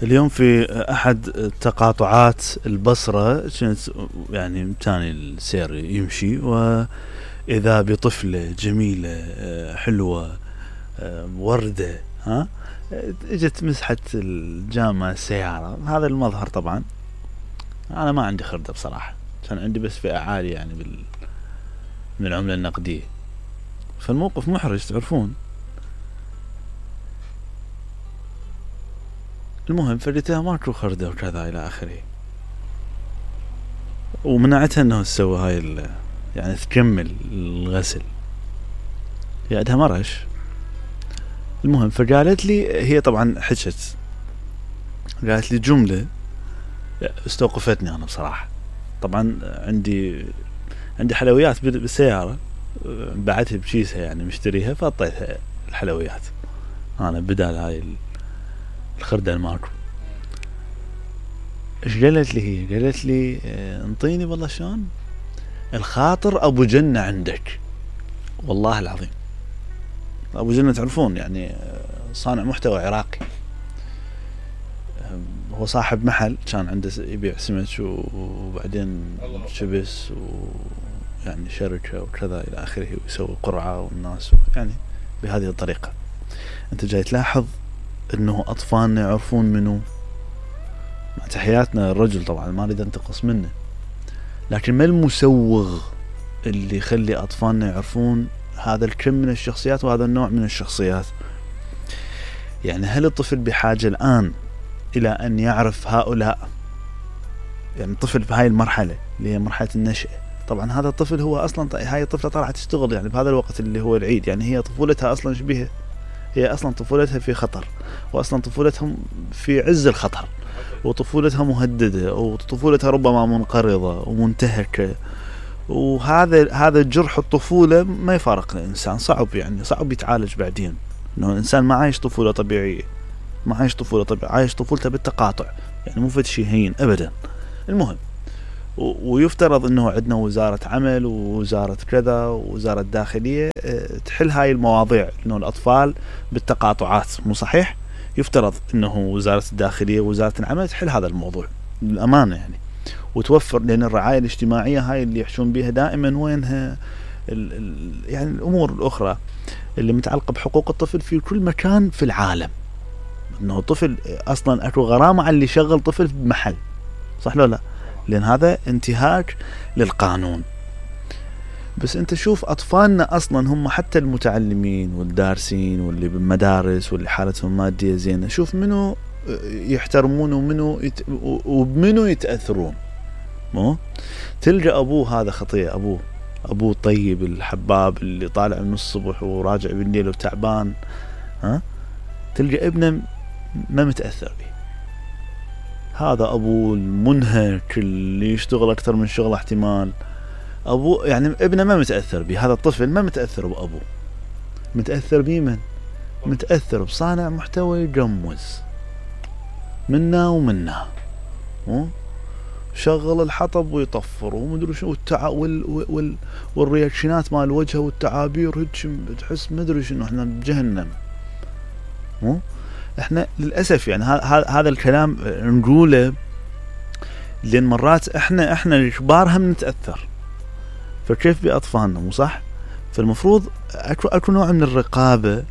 اليوم في أحد تقاطعات البصرة كانت يعني تاني السير يمشي، وإذا بطفلة جميلة حلوة وردة اجت مسحت الجامعة السيارة. هذا المظهر طبعا أنا ما عندي خردة بصراحة، كان عندي بس فئة عالية يعني من العملة النقدية، فالموقف محرج تعرفون. المهم فردتها ماكو خردة وكذا إلى آخره، ومنعتها أنه تسوي هاي يعني تكمل الغسل، عندها مرش. المهم فقالت لي هي طبعا حكت، قالت لي جملة استوقفتني أنا بصراحة. طبعا عندي حلويات بالسيارة، بعتها بكيسها يعني مشتريها، فأعطيتها الحلويات أنا بدال هاي الخردة الماكو. ايش قالت لي هي؟ قالت لي انطيني والله شلون الخاطر ابو جنة عندك. والله العظيم ابو جنة تعرفون يعني صانع محتوى عراقي، هو صاحب محل كان عنده يبيع سمك وبعدين شبس ويعني شركة وكذا إلى آخره، ويسوي قرعة والناس يعني بهذه الطريقة. أنت جاي تلاحظ أنه أطفالنا يعرفون منه، مع تحياتنا الرجل طبعا ما أريد أنتقص منه، لكن ما المسوغ اللي يخلي أطفالنا يعرفون هذا الكم من الشخصيات وهذا النوع من الشخصيات؟ يعني هل الطفل بحاجة الآن إلى أن يعرف هؤلاء؟ يعني الطفل في هاي المرحلة اللي هي مرحلة النشأة، طبعا هذا الطفل هو أصلا هاي الطفلة طالعة تشتغل يعني بهذا الوقت اللي هو العيد، يعني هي طفولتها أصلا شبيهة، هي أصلا طفولتها في خطر، وأصلا طفولتهم في عز الخطر، وطفولتها مهددة، وطفولتها ربما منقرضة ومنتهكة. وهذا جرح الطفولة ما يفارق الإنسان، صعب يعني صعب يتعالج بعدين، إنه الإنسان ما عايش طفولة طبيعية، ما عايش طفولة طبيعية، عايش طفولته بالتقاطع، يعني مو فد شيء هين أبدا. المهم ويفترض إنه عندنا وزارة عمل ووزارة كذا ووزارة داخلية تحل هاي المواضيع، إنه الأطفال بالتقاطعات مو صحيح؟ يفترض إنه وزارة الداخلية ووزارة العمل تحل هذا الموضوع بالأمانة يعني، وتوفر، لأن الرعاية الاجتماعية هاي اللي يحشون بها دائما وينها يعني الأمور الأخرى اللي متعلقة بحقوق الطفل في كل مكان في العالم. إنه طفل أصلا أكو غرامة على اللي يشغل طفل بمحل، صح ولا لا؟ لأن هذا انتهاك للقانون. بس أنت شوف أطفالنا أصلا هم حتى المتعلمين والدارسين واللي بالمدارس واللي حالتهم مادية زينة، شوف منو يحترمون ومنو يتأثرون. مو تلقى أبوه هذا خطية، أبوه طيب الحباب اللي طالع من الصبح وراجع بالليل وتعبان، تلقى ابنه ما متأثر به. هذا أبوه المنهك اللي يشتغل أكثر من شغل احتمال، أبوه يعني ابنه ما متأثر به. هذا الطفل ما متأثر بأبوه، متأثر بمن؟ متأثر بصانع محتوى يجمز منا ومنا، شغل الحطب ويطفر ومدري شو والرياكشنات مال الوجه والتعابير هيك تحس مدري شنو احنا بجهنم. احنا للأسف يعني هذا الكلام نقوله لأن مرات احنا الكبار هم نتأثر، فكيف بأطفالنا؟ مو صح؟ فالمفروض اكو نوع من الرقابة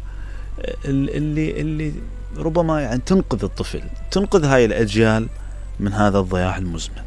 اللي ربما يعني تنقذ الطفل، تنقذ هاي الأجيال من هذا الضياع المزمن.